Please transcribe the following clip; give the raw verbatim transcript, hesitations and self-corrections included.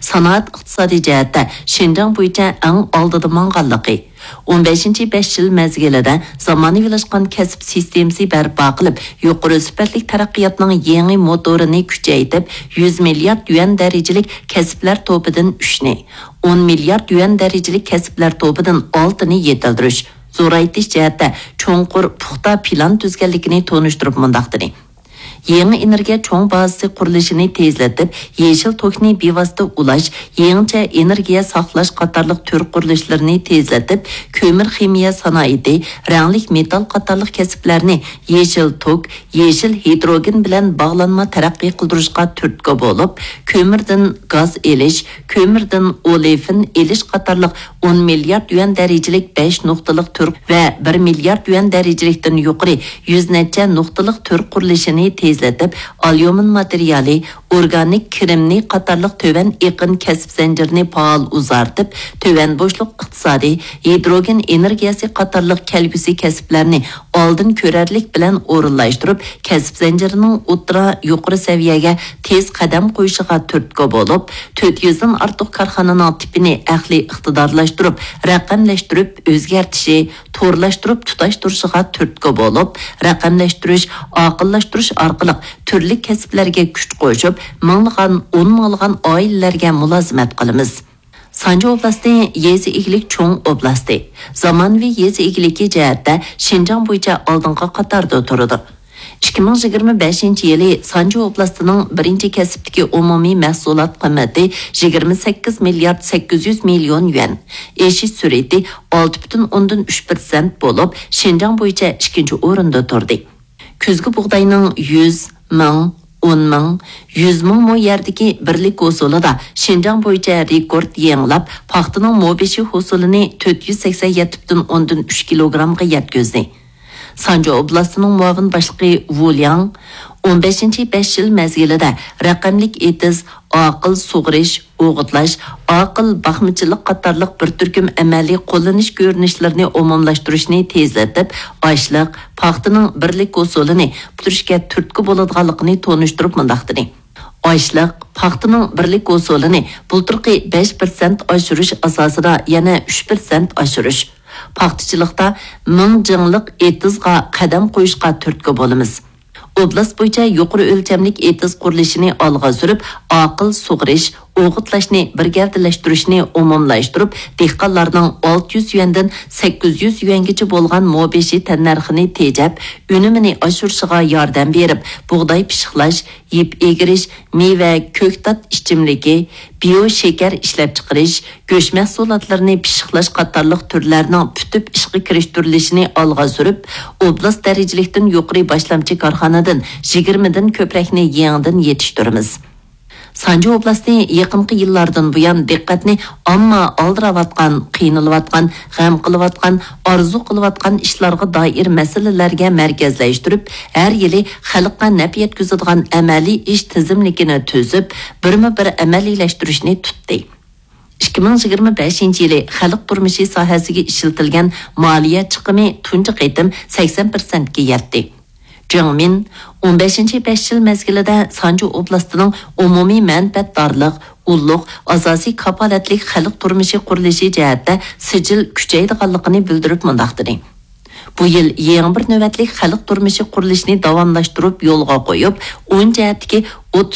سانائەت ئىقتىسادىي جەھەتتە شىنجاڭ بويىچە ئەڭ ئالدىدا ماڭغانلىقى، ئون بەشىنچى بەش يىل مەزگىلىدە زامانىۋىلاشقان كەسىپ سىستېمىسى بەرپا قىلىپ، يۇقىرى سۈپەتلىك تەرەققىياتنىڭ يېڭى موتورىنى كۈچەيتىپ، يۈز مىليارد يۈەن دەرىجىلىك كەسىپلەر توپىدىن ئۈچنى، ئون مىليارد يۈەن دەرىجىلىك كەسىپلەر توپىدىن ئالتىنى يېتىلدۈرۈش، زورايتىش جەھەتتە چوڭقۇر، پۇختا پىلان تۈزگەنلىكىنى تونۇشتۇرۇپ مۇنداق دېدى: يېڭى ئېنېرگىيە چوڭ بازىسى قۇرۇلۇشىنى تېزلىتىپ، يېشىل توكنى بىۋاسىتە ئۇلاش، يېڭىچە ئېنېرگىيە ساقلاش قاتارلىق تۈر قۇرۇلۇشلىرىنى تېزلىتىپ، كۆمۈر خىمىيە سانائىتى، رەڭلىك مېتال قاتارلىق كەسىپلەرنى يېشىل توك، يېشىل ھىدروگېن بىلەن باغلانما تەرەققىي قىلدۇرۇشقا تۈرتكە بولۇپ، كۆمۈردىن گاز ئېلىش، كۆمۈردىن ئولېفىن ئېلىش قاتارلىق ئون مىليارد يۈەن دەرىجىلىك بەش نۇقتىلىق تۈر ۋە بىر مىليارد يۈەن دەرىجىلىكتىن يۇقىرى يۈز نەچچە نۇقتىلىق تۈر قۇرۇلۇشىنى تېزلىتىپ، ئاليۇمىن ماتېرىيالى، ئورگانىك كىرېمنىي قاتارلىق تۆۋەن ئېقىن كەسىپ زەنجىرىنى پائال ئۇزارتىپ، تۆۋەن بوشلۇق ئىقتىسادى، ھىدروگېن ئېنېرگىيەسى قاتارلىق كەلگۈسى كەسىپلەرنى ئالدىن كۆرەرلىك بىلەن ئورۇنلاشتۇرۇپ، كەسىپ زەنجىرىنىڭ ئوتتۇرا، يۇقىرى سەۋىيەگە تېز قەدەم قويۇشىغا تۈرتكە بولۇپ، تۆت يۈزدىن ئارتۇق كارخانىنىڭ تىپىنى ئەقلىي ئىقتىدارلاشتۇرۇپ، رەقەملەشتۈرۈپ ئۆزگەرتىشى، تورلاشتۇرۇپ تۇتاشتۇرۇشىغا تۈرتكە بولۇپ، رەقەملەشتۈرۈش، ئاقىللاشتۇرۇش ئارقىلىق تۈرلۈك كەسىپلەرگە كۈچ قوشۇپ، مىڭلىغان، ئون مىڭلىغان ئائىلىلەرگە مۇلازىمەت قىلىمىز. سانجى ئوبلاستى يېزا ئىگىلىك چوڭ ئوبلاستى. زامانىۋى يېزا ئىگىلىكى جەھەتتە شىنجاڭ بويىچە ئالدىنقى قاتاردا تۇرىدۇ. ئىككى مىڭ يىگىرمە بەشىنچى يىلى سانجى ئوبلاستىنىڭ بىرىنچى كەسىپتىكى ئومۇمىي مەھسۇلات قىممىتى يىگىرمە سەككىز مىليارد سەككىز يۈز مىليون يۈەن، ئېشىش سۈرئىتى ئالتە پۈتۈن ئوندىن ئۈچ پىرسەنت بولۇپ، شىنجاڭ بويىچە ئىككىنچى ئورۇندا تۇردى. كۈزگى بۇغداينىڭ يۈز، مىڭ، ئون مىڭ، يۈز مىڭ مو يەردىكى بىرلىك ھوسۇلىدا شىنجاڭ بويىچە رېكورت يېڭىلاپ، پاختىنىڭ مو بېشى ھوسۇلىنى تۆت يۈز سەكسەن يەتتە پۈتۈن ئوندىن ئۈچ كىلوگرامغا يەتكۈزدى. سانجى ئوبلاستىنىڭ مۇئاۋىن باشلىقى ۋۇ لياڭ ئون بەشىنچى بەش يىل مەزگىلىدە رەقەملىك ئېتىز، ئاقىل سۇغىرىش، ئوغۇتلاش، ئاقىل باقمىچىلىق قاتارلىق بىر تۈركۈم ئەمەلىي قوللىنىش كۆرۈنۈشلىرىنى ئومۇملاشتۇرۇشنى تېزلىتىپ، ئاشلىق، پاختىنىڭ بىرلىك ھوسۇلىنى پۈتتۈرۈشكە تۈرتكە بولىدىغانلىقىنى تونۇشتۇرۇپ مۇنداق دېدى: ئاشلىق، پاختىنىڭ بىرلىك ھوسۇلىنى بۇلتۇرقى بەش پىرسەنت ئاشۇرۇش ئاساسىدا يەنە ئۈچ پىرسەنت ئاشۇرۇش. پاختىچىلىقتا مىڭ جىڭلىق ئېتىزغا قەدەم قويۇشقا تۈرتكە بولىمىز. ئوبلاست بويىچە يۇقىرى ئۆلچەملىك ئېتىز قۇرۇلۇشىنى ئالغا سۈرۈپ، ئاقىل سۇغىرىش، ئوغۇتلاشنى بىر گەۋدىلەشتۈرۈشنى ئومۇملاشتۇرۇپ، دېھقانلارنىڭ ئالتە يۈز يۈەندىن سەككىز يۈز يۈەنگىچە بولغان مو بېشى تەننەرخىنى تېجەپ، ئۈنۈمىنى ئاشۇرۇشىغا ياردەم بېرىپ، بۇغداي پىششىقلاش، يىپ ئېگىرىش، مېۋە، كۆكتات ئىچىملىكى، بىيو شېكەر ئىشلەپچىقىرىش، گۆش مەھسۇلاتلىرىنى پىششىقلاش قاتارلىق تۈرلەرنىڭ پۈتۈپ ئىشقا كىرىشتۈرۈلۈشىنى ئالغا سۈرۈپ، ئوبلاست دەرىجىلىكتىن يۇقىرى باشلامچى كارخانىدىن يىگىرمىدىن كۆپرەكنى يېڭىدىن يېتىشتۈرىمىز. سانجى ئوبلاستى يېقىنقى يىللاردىن بۇيان دىققەتنى ئامما ئالدىراۋاتقان، قىينىلىۋاتقان، غەم قىلىۋاتقان، ئارزۇ قىلىۋاتقان ئىشلارغا دائىر مەسىلىلەرگە مەركەزلەشتۈرۈپ، ھەر يىلى خەلققە نەپ يەتكۈزىدىغان ئەمەلىي ئىش تىزىملىكىنى تۈزۈپ، بىرمۇ بىر ئەمەلىيلەشتۈرۈشنى تۇتتى. ئىككى مىڭ يىگىرمە بەشىنچى يىلى خەلق تۇرمۇشى ساھەسىگە ئىشلىتىلگەن مالىيە چىقىمى تۇنجى قېتىم سەكسەن پىرسەنتكە يەتتى. جېڭ مىن ئون بەشىنچى بەش يىل مەزگىلىدە سانجى ئوبلاستىنىڭ ئومۇمىي مەنپەئەتدارلىق، ئۇللۇق، ئاساسىي كاپالەتلىك خەلق تۇرمۇشى قۇرۇلۇشى جەھەتتە سىجىل كۈچەيدىغانلىقىنى بىلدۈرۈپ مۇنداق دېدى: بۇ يىل يېڭى بىر نۆۋەتلىك خەلق تۇرمۇشى قۇرۇلۇشىنى داۋاملاشتۇرۇپ يولغا قويۇپ، ئون جەھەتتىكى ئوتتۇز